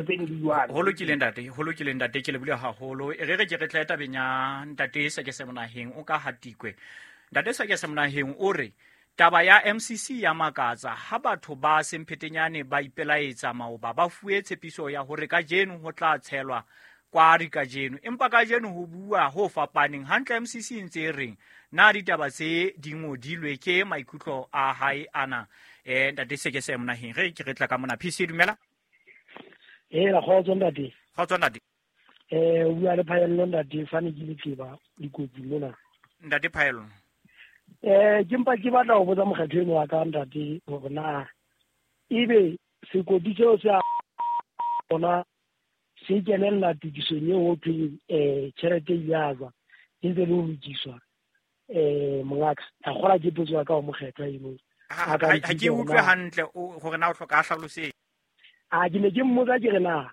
Tseno di jwalo. Ho lokile ntate, ho lokile ntate, ke lebohile haholo. E re re ke re tle tabeng ya ntate Sekese Monaheng o ka Hatikwe. Ntate Sekese Monaheng o re taba ya MCC ya makatsa ha batho ba Semphetenyane ba ipelaetsa maoba ba fuwe tshepiso ya hore kajeno ho tla tshelwa kwari kajeno, empa kajeno ho bua ho fapaneng. Hantle MCC e ntse e reng? Na ditaba tse di ngodilwe ke maikutlo a hae ana? Ntate Sekese Monaheng, re ke re tla ka mona. PC dumela. Hela kgotso ntate. Kgotso ntate. O bua le Phaello ntate, fane ke letleba dikotsi mona. Ntate Phaello. Ke mpa ke batla ho botsa mokgatho eno wa ka ntate hore na ebe sekoti seo se a ona se kenella tokisong eo ho thweng tjhelete e ile a tswa e ntse le ho lokiswa. Mongaka, a kgola ke potso ya ka ho mokgethwa eno. Ha A ka ha nthusa ke hore utlwe na hantle hore na o hloka a hlaloseng. A ke ne ke mmotsa ke re na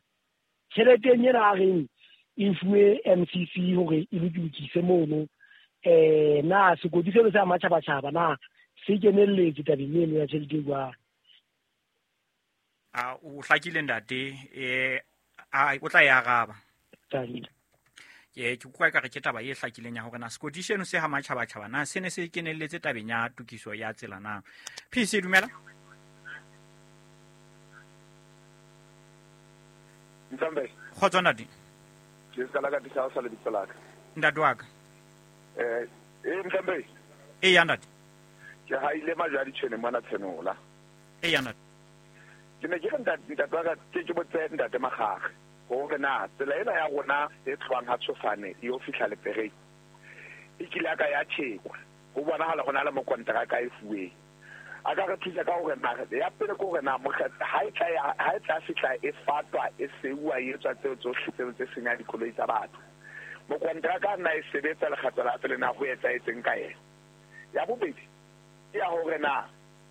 tjheleteng ena a reng e fuwe MCC hore e lokise mono, na sekoti seno sa matjhabatjhaba na se kenelletse tabeng eno ya tjhelete e jwalo? A o hlakile ntate, a o tla e araba. Thank you. Ke utlwa ekare ke taba e hlakileng ya hore na sekoti seno se ha matjhabatjhaba na se ne se kenelletse tabeng ya tokiso ya tsela na. PC dumela. Ntambe. Kgotso ntate. Ke sala ka tisa sa lebitso la ka. Ntate wa ka. Ntambe. E ya ntate. Ke ha ile majwa ditshwene mona tshenola. E ya ntate. Ke ne ke re ntate wa ka ke botse ntate Makgakge hore na tsela ena ya rona e tlohang ha Tshofane e yo fihla Lepereng e kile ya ka ya tjhekwa. Ho bonahala ho na le mokonteraka e fuweng. A ka re thusa ka hore na ya pele ke hore na mokgatlo ha e tla ya, ha e tla fihla e fatwa, e seuwa, e etswa tseo tsohle tseo tse senyang dikoloi tsa batho. Mokonteraka a nna e sebetsa lekgetlo la pele na ho etsahetseng ka yena. Ya bobedi ke ya hore na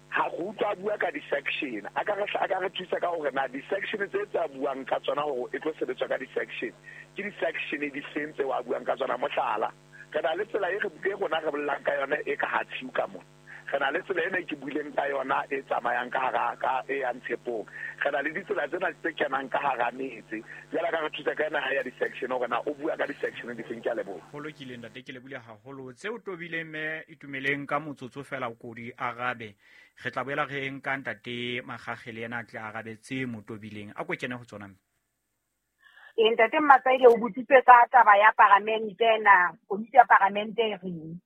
ha re utlwa a bua ka di-section, a ka re thusa ka hore na di-section tse tse a buang ka tsona hore e tlo sebetswa ka di-section, ke di-section di feng tseo a buang ka tsona. Mohlala, re na le tsela e e rona re bolelang ka yona e ka ha tshiu ka mona. Re na le tsela ena e ke buileng ka yona e tsamayang ka hara ka e yang Tshepong. Re na le ditsela tsena tse kenang ka hara metse. Jwale ka re thusa ka ena ha ya di-section hore na o bua ka di-section di feng. Ke a leboha. Ho lokile ntate, ke lebohile haholo. Tseo tobileng mme Itumeleng ka motsotso fela o ko di arabe. Re tla boela re nka ntate Makgakge le yena a tle arabe tse mo tobileng. A ko kene ho tsona mme. Ntate Mmatsaile o botsitse ka taba ya paramente na, komiti ya paramente e reng.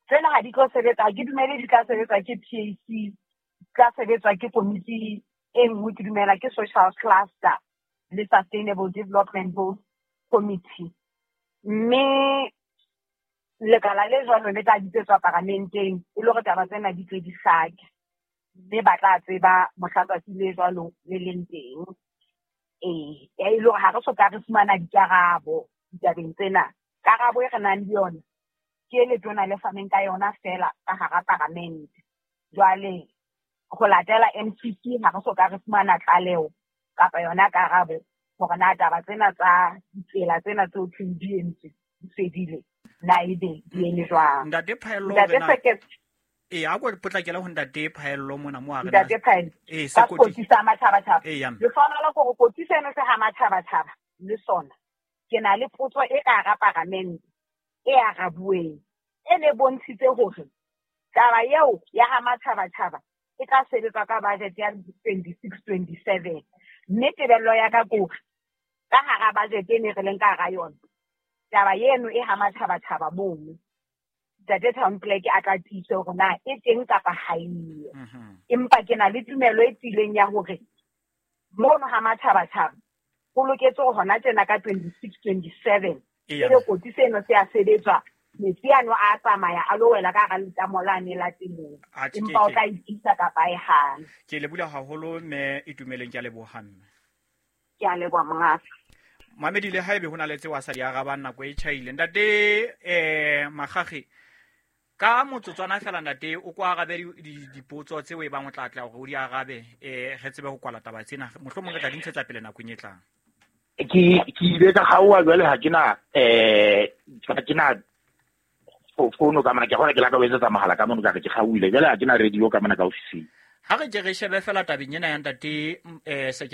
Tsena ha di tlo sebetsa, ha ke dumele di tla sebetswa ke PAC, di tla sebetswa ke komiti e nngwe, ke dumela ke Social Cluster le Sustainable Development Goals Committee. Mme lekala le jwalo le tla bitsetswa paramenteng e le hore taba tsena di tle di hlake, mme ba tla tseba mohla tsatsi le jwalo le leng teng. E le hore ha re soka re fumana dikarabo ditabeng tsena. Karabo e re nang le yona ke e letona le faneng ka yona feela ka hara paramente. Jwale ho latela MCC ha re soka re fumana tlaleho kapa yona karabo hore na taba tsena tsa ditsela tsena tseo thweng di entswe di fedile, na ebe di eme jwang. Ntate Phaello, Ntate hore na Sekete. A ko potlakele ho ntate Phaello mona mo a re na Ntate Phaello. Ka sekoti. sekoti sa matjhabatjhaba. Ya mme. Lehlohonolo ke hore kotsi seno se ha matjhabatjhaba le sona. Ke na le potso e ka hara paramente e arabuweng, e ne bontshitse hore taba eo ya ha matjhabatjhaba e tla sebetswa ka budget ya 26-27. Mme tebello ya ka ke hore ka hara budget e ne re leng ka hara yona, taba eno e ha matjhabatjhaba mono, Ntate Town Clerk a tla tiisa hore na e teng kapa ha eyo. Empa ke na le tumelo e tiileng ya hore mono ha matjhabatjhaba ho loketse hore hona tjena ka 26-27 ebe kotsi seno se a sebetswa, metsi ano a tsamaya a lo wela ka hara letamo lane la temong. Atjhe, Empa o tla itiisa kapa e hana. Ke lebohile haholo mme Itumeleng, ke a leboha mme. Ke a leboha monghadi. Mamedi, le haebe ho na le tseo a sa di arabang nako e tjhaile. Ntate Makgakge, ka motsotswana fela ntate o ko arabe dipotso tseo e bang o tla tla hore o di arabe, re tsebe ho kwala taba tsena. Mohlomong re tla di ntshetsa pele nakong e tlang. Ke ile ka kgaoha jwale, ha ke na, ha ke na fono ka mona, ke kgona ke la ka o etsetsa mohala ka mono ka re ke kgaohile. Jwale ha ke na radio ka mona ka ofising. Ha re ke re shebe fela tabeng ena ya ntate um.